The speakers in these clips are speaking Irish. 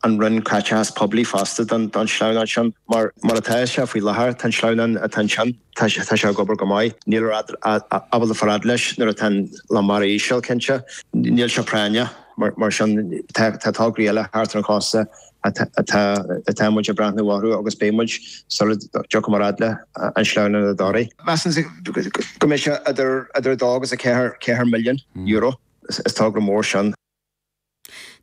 an Roinn Caiteachas Poiblí fosta don sleamhnán sin. Mar mar atá sé faoi láthair, tá an sleamhnán atá ansin, tá sé ag obair go maith. Níl ábalta fáil fhad leis nuair atá an lá mara íseal, cinnte. Níl sé práinneach. Mar sin, tá tograí eile thart ar an chósta atá muid ag breathnú orthu agus beidh muid sula dtiocfaidh muid fhad le an sleamhnán i dToraigh. Measaim go mbeidh sé idir 2 agus 4 milliún euro. Is togra mór sin.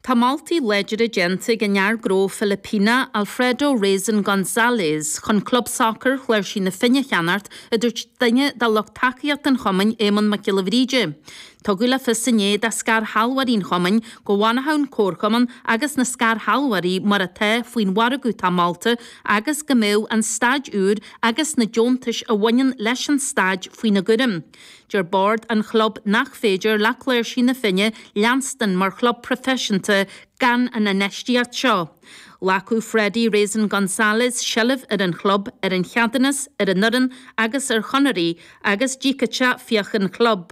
Tá moltaí láidre déanta ag an fhear gnó Filipíneach Alfredo Reyson Gonzales chun club sacair Chláirsigh na Finne a cheannacht, a dúirt duine de lucht tacaíochta an chumainn, Éamonn Mac Giolla Bhríde. Tugadh le fios inné do scairshealbhóirí an chumainn go bhfanfadh an comharchumann agus na scairshealbhóirí mar atá faoin mhargadh atá molta agus go mbeadh an staid úr agus na deontais a bhaineann leis an staid faoina gcúram. Deir bord an chlub nach féidir le Cláirsigh na Finne leanstan mar chlub proifisiúnta gan an infheistíocht seo. Ghlacfadh Freddie Reyson Gonzales seilbh ar an chlub, ar an cheadúnas, ar an fhoireann agus ar chonairí agus d'íocfadh sé fiacha an chlub.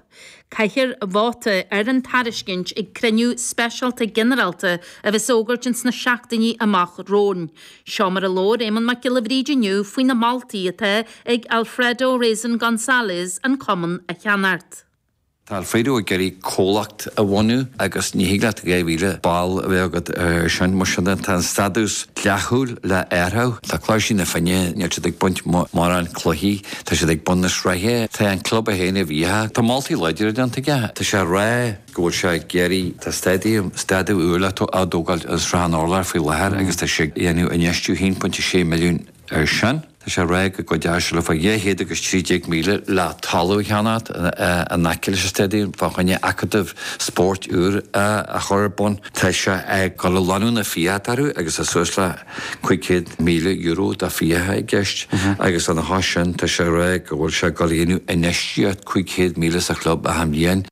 Caithfear vóta ar an tairiscint ag cruinniú speisialta ginearálta a bheas á fhógairt ins na seachtainí amach romhainn. Seo mar a labhair Éamonn Mac Giolla Bhríde inniu faoi na moltaí atá ag Alfredo Reyson Gonzales an cumann a cheannacht. Tá Alfredo ag iarraidh comhlacht a bhunú agus ní thig leat 2,000 ball a bheith agat ar sin. Mar sin de, tá an stádús dleathúil le athrú. Tá Cláirsigh na Finne, níl siad ag baint mórán cluichí, tá siad ag bun na sraithe. Tá an club é féin i bhfiacha. Tá moltaí láidre déanta aige. Tá sé ag rá go bhfuil sé ag iarraidh, tá stadium, stadium úr á dtógáil i Srath an Urláir faoi láthair agus tá sé ag déanamh infheistiú 1.6 milliún ar sin. Tá sé ag rá go gcuideoidh sé le fá 213,000 le talamh a cheannacht in aice leis an stadium fá choinne acadamh spóirt úr a chur ar bun. Tá sé ag dul a lonnú na fiacha orthu agus tá suas le €500,000 de fiacha i gceist agus lena chois sin tá sé ag rá go bhfuil sé ag dul a dhéanamh infheistíocht 500,000 sa chlub achan bhliain.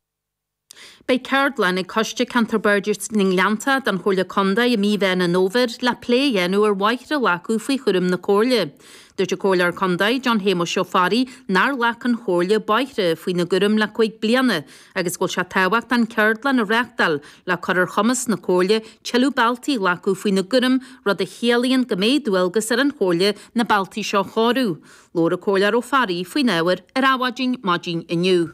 Beidh ceardlann ag Coiste Ceantar Bardais na nGleannta den Chomhairle Contae i mí Mheán an Fhómhair le plé a dhéanamh ar bhóithre a ghlacadh faoi chúram na Comhairle. Dúirt an Comhairleoir Contae, John Shéamuis Ó Fearraigh, nár ghlac an Chomhairle bóithre faoina gcúram le 5 bliana agus go bhfuil sé tábhachtach an ceardlann a reáchtáil le cur ar chumas na Comhairle tuilleadh bealtaí a ghlacadh faoina gcúram, rud a chiallaíonn go mbeidh dualgas ar an Chomhairle na bealtaí seo a chóiriú. Labhair an Comhairleoir Ó Fearraigh faoin ábhar ar Adhmhaidin maidin inniu.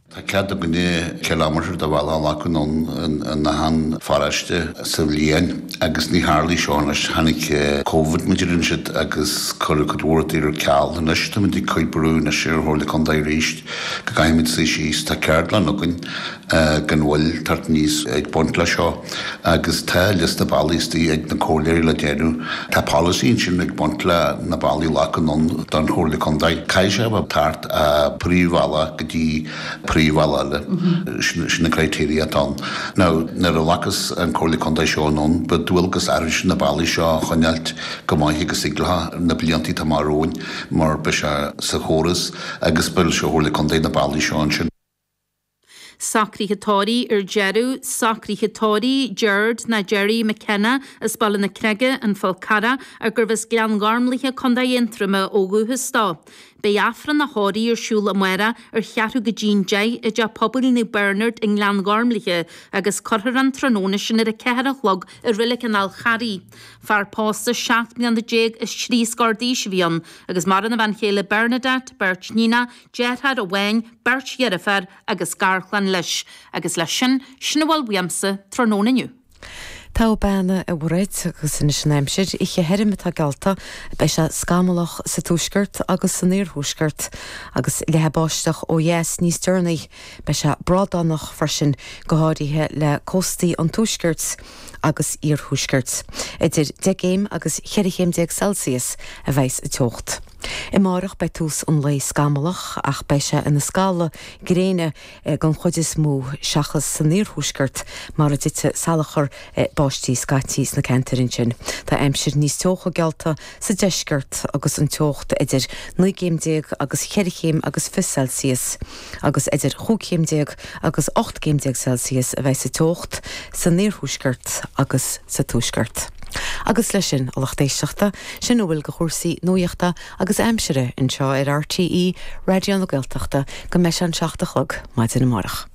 Tá cead againne kilometre de bhealach a ghlacadh anonn in achan pharóiste sa bhliain agus ní tharlaigh seo anois. Tháinig Covid mar a deireann siad agus cuireadh cuid mhór rudaí ar ceal. Anois táimid ag cur brú anois ar an Chomhairle Contae arís go gcaithfimid suí síos. Tá ceardlann againn gan mhoill teacht aníos ag baint le seo agus tá liosta bealaí istigh ag na comhairleoirí le déanamh. Tá polasaí ansin ag baint le na bealaí a ghlacadh anonn don Chomhairle Contae. Caithfidh sé a bheith thart ó príomhbhealach go dtí príomhbhealach eile. Sin na criteria atá ann. Now nuair a ghlacas an Comhairle Contae seo anonn beidh dualgas orainn na bealaí seo a choinneáilt go maith agus thig leo na blianta atá amach romhainn mar beidh sé sa chóras agus beidh sé Chomhairle Contae na bealaí seo ansin. Socruithe tórraimh ar deireadh, Socruithe tórraimh, Gerard nó Gerry McKenna as Baile na Creige, An Fál Carrach, ar gurbh as Gleann Ghormlaithe, Co. Aontroma ó dhúchas dó. Beidh Aifreann a thórraimh ar siúl amárach ar cheathrú go dtí'n 10 i dTeach Pobail Naomh Bernard i nGleann Ghormlaithe agus cuirfear an tráthnóna sin ar 4 a chlog i Reilig an Fháil Charraigh. Fear pósta 17 mbliana is trí scór d'aois a bhí ann agus maireann a bhean chéile Bernadette, beirt níonacha, deartháir amháin, beirt dheirféar agus garchlann leis. Agus leis sin, sin a bhfuil uaimse tráthnóna inniu. Togha bean, a Mhairéad, agus anois an aimsir. Oíche thirim atá geallta. Beidh sé scamallach sa tuaisceart agus san iarthuaisceart agus leathfaidh báisteach ó dheas níos deireanaí. Beidh sé brádánach freisin, go háirithe le cóstaí an tuaiscirt agus iarthuaiscirt. Idir 10 gcéim agus 14 chéim Celsius a bheidh sa teocht. Amárach beidh tús an lae scamallach ach beidh sé ina scalladh gréine den chuid is mó seachas san iarthuaisceart mar a dtitfidh salachar báistí scaití sna ceantair ansin. Tá aimsir níos teocha geallta sa deisceart agus an teocht idir 19 gcéim agus cheithre chéim agus 20 Celsius agus idir chúig chéim déag agus 18 gcéim Celsius a bheidh sa teocht san iarthuaisceart agus sa tuaisceart. Agus leis sin, a lucht éisteachta, sin a bhfuil de chúrsaí nuachta agus aimsire anseo ar RTÉ Raidió na Gaeltachta go mbeidh sé an 7 a chlog maidin amárach.